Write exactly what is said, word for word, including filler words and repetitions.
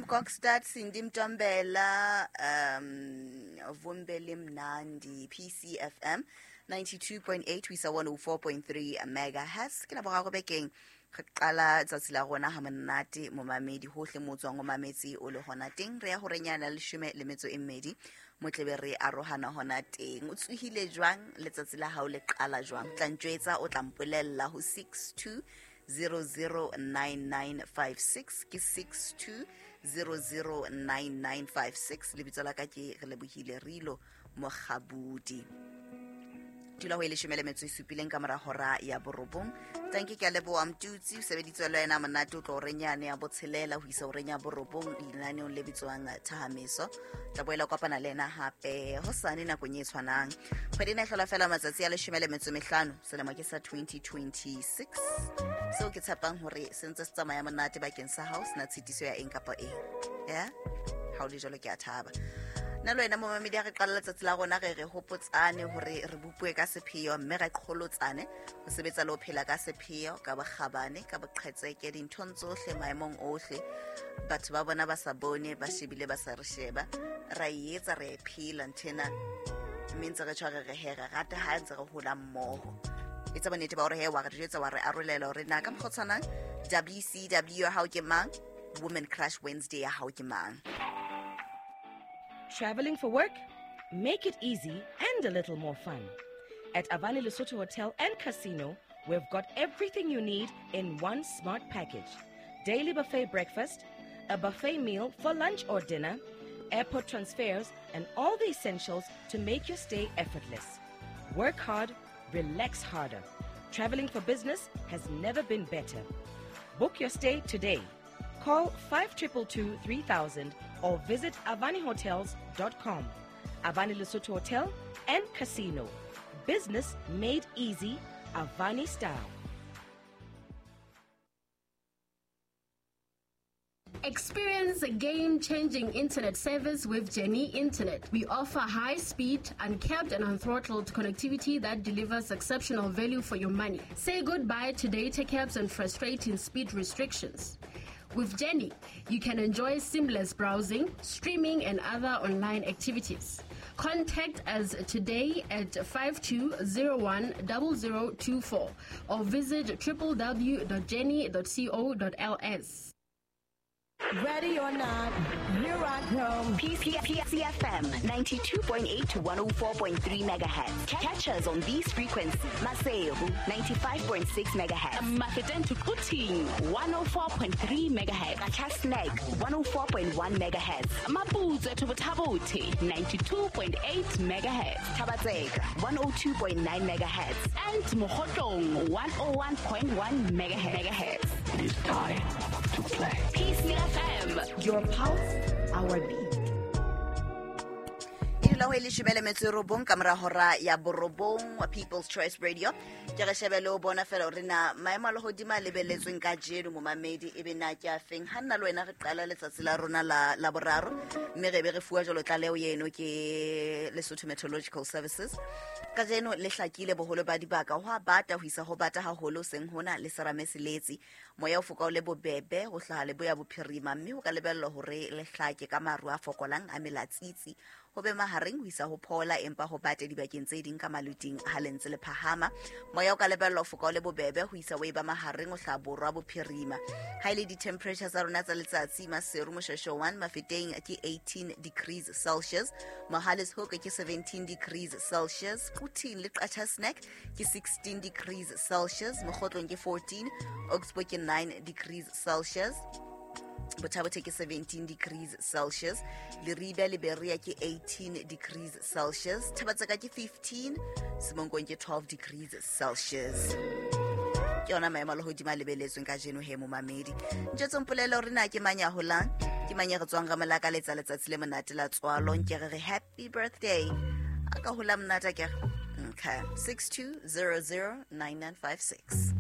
Tim Kokstad, Cindy Mtombela, um Vumbele Mnandi, P C F M ninety-two point eight ho isa one oh four point three megahertz. Ke la boraro bekeng re qala tsatsi la rona ha monate momamedi hohle mo tswang o mametse o le hona teng. Re ya hore nyana leshome le metso e mmedi motlebe re arohana hona teng. O tsohile jwang letsatsi la hao le qala jwang? Tla ntjwetsa, o tla mpolella ho six two zero zero nine nine five six ke six two zero zero nine nine five six. Lebitso la ka ke re lebohile Rilo Mokgabudi. Dula ho e leshome le metso e supileng ka mora hora ya borobong. Tanki ke a leboha Mtutsi, o sebeditswe le wena monate o tlo re nyane ya botshelela ho isa horeng ya borobong lenaneong le bitswang Thahameso. Tla boela kopana le yena hape hosane nakong e tshwanang. Kgwedi ena e hlola fela matsatsi a leshome le metso e mehlano, selemo ke sa twenty twenty-six. Seo ke tshepang hore se ntse se tsamaya monate bakeng sa hao, sena tshitiso ya eng kapa eng. Ya? Ha o le jwalo ke a thaba. Nna le wena momamedi ha re qala letsatsi la rona re re hopotsane hore re bopue ka sepheo mme re qholotsane ho sebetsa le ho phela ka sepheo, ka bokgabane, ka boqhetseke dinthong tsohle maemong ohle. Batho ba bona ba sa bone, ba shebile ba sa re sheba. Ra e etsa, re e phela nthena mme ntse re tshware re he re rata ha ntse re hola mmoho. Etsa bonnete ba hore he wa re jwetsa wa re arolela hore na ka mokgwa o tshwanang W C W ya hao ke mang, Women Crush Wednesday ya hao ke mang. Traveling for work? Make it easy and a little more fun. At Avani Lesotho Hotel and Casino, we've got everything you need in one smart package. Daily buffet breakfast, a buffet meal for lunch or dinner, airport transfers, and all the essentials to make your stay effortless. Work hard, relax harder. Traveling for business has never been better. Book your stay today. Call five two two two three thousand or visit avani hotels dot com. Avani Lesotho Hotel and Casino. Business made easy, Avani style. Experience a game-changing internet service with Jenny Internet. We offer high-speed, uncapped and unthrottled connectivity that delivers exceptional value for your money. Say goodbye to data caps and frustrating speed restrictions. With Jenny, you can enjoy seamless browsing, streaming, and other online activities. Contact us today at five two zero one zero zero two four or visit w w w dot jenny dot co dot l s. Ready or not, here I come. P C F M ninety-two point eight to one oh four point three megahertz. Catch us on these frequencies. Maseru ninety-five point six megahertz. Mafeteng to Quthing one oh four point three megahertz. Qacha's Nek one oh four point one megahertz. Maputswe to Botha-Bothe ninety-two point eight megahertz. Thaba-Tseka one oh two point nine megahertz. And Mokhotlong one oh one point one megahertz. It is time to play. P C F M. Your pulse, our beat. E dula ho e leshome le metso e robong ka mora hora ya borobong wa People's Choice Radio. Ke re shebe le ho bona fela hore na maemo a lehodimo a lebelletsweng kajeno momamedi e be na ke a feng. Ha nna le wena re qala letsatsi la rona la, la boraro mme re be re fuwa jwalo tlaleho eno ke Lesotho Meteorological Services. Kajeno le hlakile boholo ba dibaka ho a bata ho isa ho bata haholo seng hona le serame seletsi. Moya o foka o le bobebe ho hlaha leboya bophirima mme ho ka lebellwa hore le hlake ka maru a fokolang a melatsitsi. Ho be mahareng ho isa ho phola empa ho bate dibakeng tse ding ka maluting ha le ntse le phahama. Moya o ka lebellwa ho foka o le bobebe ho isa ho eba mahareng ho hlaha borwa bophirima. Ha ile di-temperature tsa rona tsa letsatsi Maseru Moshweshwe one Mafeteng ke eighteen degrees Celsius, Mohale's Hoek ke seventeen degrees Celsius, Quthing le Qacha's Nek ke sixteen degrees Celsius, Mokhotlong ke fourteen, Oxbow ke nine degrees Celsius, Botha-Bothe ke seventeen degrees Celsius, Leribe le Berea ke eighteen degrees Celsius, Thaba-Tseka ke fifteen, Semonkong ke twelve degrees Celsius. Ke yona maemo a lehodimo a lebelletsweng kajeno he momamedi. Ntjwetseng polelo hore na ke mang ya holang, ke mang ya re tswang ramolaka letsa letsatsi le monate la tswalo, nke re re happy birthday. A ka hola monate akere? Okay, six two zero zero nine nine five six.